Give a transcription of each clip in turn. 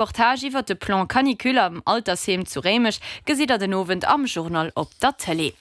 Reportage iwwer de Plan Canicule am Altersheem zu Réimech gesitt der den Owend am Journal op der Tëlee.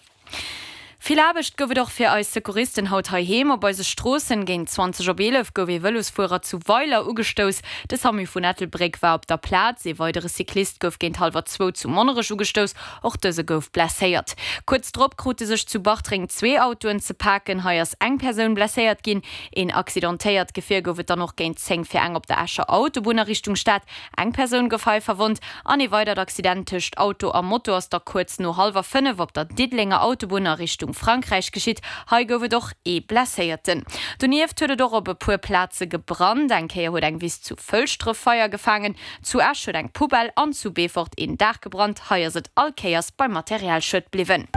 Vill Aarbecht gouf et och fir eis Secouristen haut heiheem op eise Stroossen. Géint 20 op 11 gouf ee Vëlosfuerer zu Weiler ugestouss. De Samu vun Ettelbréck war op der Plaz. Ee weidere Cyclist gouf géint hallwer zwou zu Monnerech ugestouss. Och dëse gouf blesséiert. Kuerz drop krute sech zu Bartreng zwee Autoen ze paken. Hei ass eng Persoun blesséiert ginn. Een accidentéiert Gefier gouf et dann och géint 10 fir eng op der Escher Autobunn a Richtung Stad. Eng Persoun gouf hei verwonnt an ee weidert Accident tëscht Auto a Moto ass da kuerz no hallwer 5 op der Diddelenger Autobunn a Richtung Frankräich geschitt. Hei gouf et och ee Blesséierten. Donieft huet et och op e puer Plaze gebrannt. Eng Kéier huet eng Wiss zu Fëlschdref Feier gefaangen, zu Esch huet eng Poubelle an zu Beefort een Daach gebrannt. Hei ass et all Kéiers beim Materialschued bliwwen.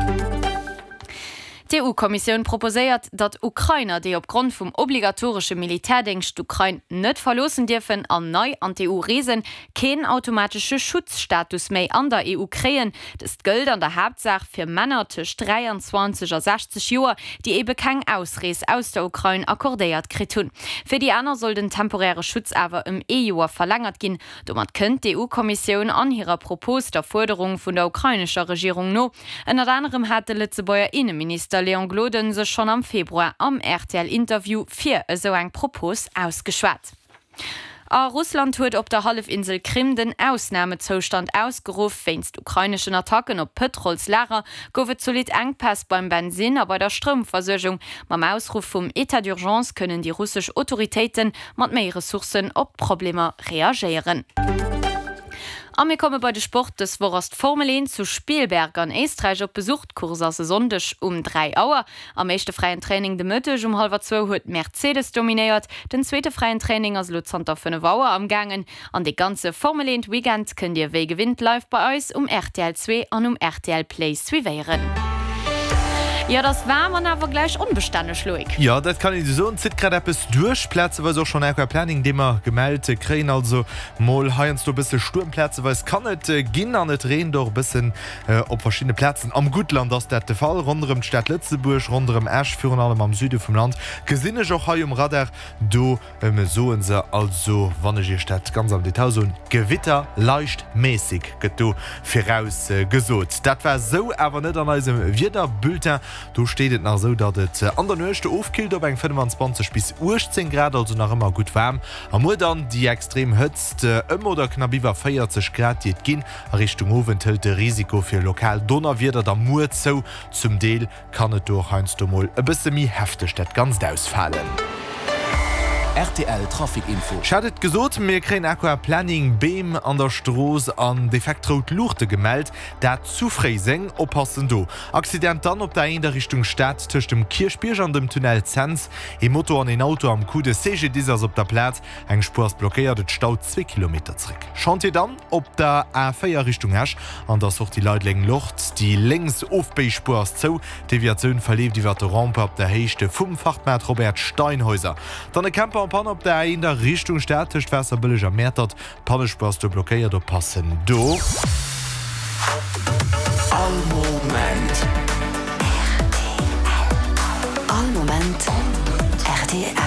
D'EU-Kommissioun proposéiert, datt Ukrainer, déi opgrond vum obligatoresche Militärdéngscht d'Ukrain net verloossen dierfen an nei an d'EU reesen, keen automatesche Schutzstatus méi an der EU kréien. Dëst gëllt an der Haaptsaach fir Männer tëscht 23 a 60 Joer, déi ebe keng Ausrees aus der Ukrain accordéiert kritt hunn. Fir déi aner soll den temporäre Schutz awer ëm ee Joer verlängert ginn. Domat kënnt d'EU-Kommissioun an hirer Propos der Fuerderung vun der ukrainescher Regierung no. Ënnert anerem hat de Lëtzebuerger Inneminister Léon Gloden sech schonn am Februar am RTL-Interview fir esou eng Propos ausgeschwat. A Russland huet op der Hallefinsel Krim den Ausnamezoustand ausgeruff. Wéinst ukraineschen Attacken op Pëtrolslager gouf et zolidd Enkpäss beim Bensinn a bei der Stroumversuergung. Mam Ausruff vum Etat d'urgence kënnen déi russesch Autoritéite mat méi Ressourcen op d'Problemer reagéieren. A mir komme bei de Sport. Dës Woch ass d'Formel 1 zu Spielberg an Éisträich op Besuch. D'Course ass e Sonndeg um 3 Auer. Am éischte fräien Training de Mëtteg um hallwer zwou huet Mercedes dominéiert. Den zweete fräien Training ass elo zanter 5 Auer am gaangen. An dee ganze Formel 1 Weekend kënnt dir wéi gewinnt live bei eis um rtl 2 an um rtl Play suivéieren. Jo, et ass waarm an awer gläich onbestänneg, Loïc. Jo, dat kann een esou soen. Et zitt grad eppes duerch, plazeweis och schonn Aquaplaning, dee mer gemellt kréien. Also mol heiansdo e bësse Stuerm, plazeweis kann et ginn an et reent och e bëssen op verschiddene Plazen. Am Guttland ass dat de Fall, ronderëm d'Stad Lëtzebuerg, ronderëm Esch, virun allem am Süde vum Land gesinn ech och hei um Radar do Soen se also, wann ech Iech dat ganz am Detail soen, Gewitter leicht mäßig gëtt do viraus gesot. Dat war sou awer net an eisem Wiederbulletin. Do steet et nach esou, datt et an der Nuecht ofkillt op eng 25 bis 18 Grad, also nach ëmmer gutt waarm. A muer dann déi extrem Hëtzt ëm oder knapp iwwer 40 Grad, déi et ginn. A Richtung Owend hëlt de Risiko fir lokal Donnerwieder da muer zou, zum Deel Kann et do och heiansdo mol e bësse méi hefteg dat Ganzt ausfalen. Rtl Trafic Info. Ech hat et gesot, mir kréien Aquaplaning, Beem an der Strooss an defekt rout Luuchte gemellt, dat zu Fréiseng. Oppassen do! Accident dann op der A1 a Richtung Stad tëscht dem Kierchbierg an dem Tunnel Cents. Ee Moto an een Auto am Coup, de CGDIS ass op der Plaz, eng Spuer ass blockéiert, et staut zwee Kilometer zréck. Chantier dann op der A4 Richtung Esch an der Sortie Leideleng-Lorz. Déi lénks Ofbéispuer ass zou. D'Deviatioun verleeft iwwer de Rond-point op der Héicht vum Frachtmaart Robert Steinhäuser. Dann e Camper en Panne op der A1 a Richtung Stad tëscht Waasserbëlleg a Mäertert. D'Pannespuer ass do blockéiert, oppassen do. All Moment. Rtl. All Moment rtl.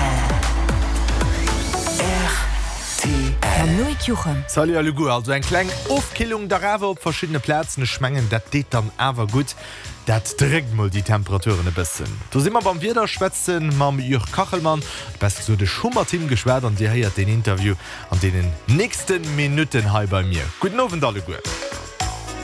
Mam Loïc Juchem. Salut alleguer, also eng kleng Ofkillung dach awer op verschiddene Plazen. Ech mengen dat deet dann awer gutt, dat dréckt mol déi Temperaturen e bëssen. Do si mer beim Wieder, schwätzen mam Jörg Kachelmann, besser gesot ech hu mat him geschwat an dir héiert deen Interview an deenen nächste Minutten hei bei mir. Gudden Owend alleguer.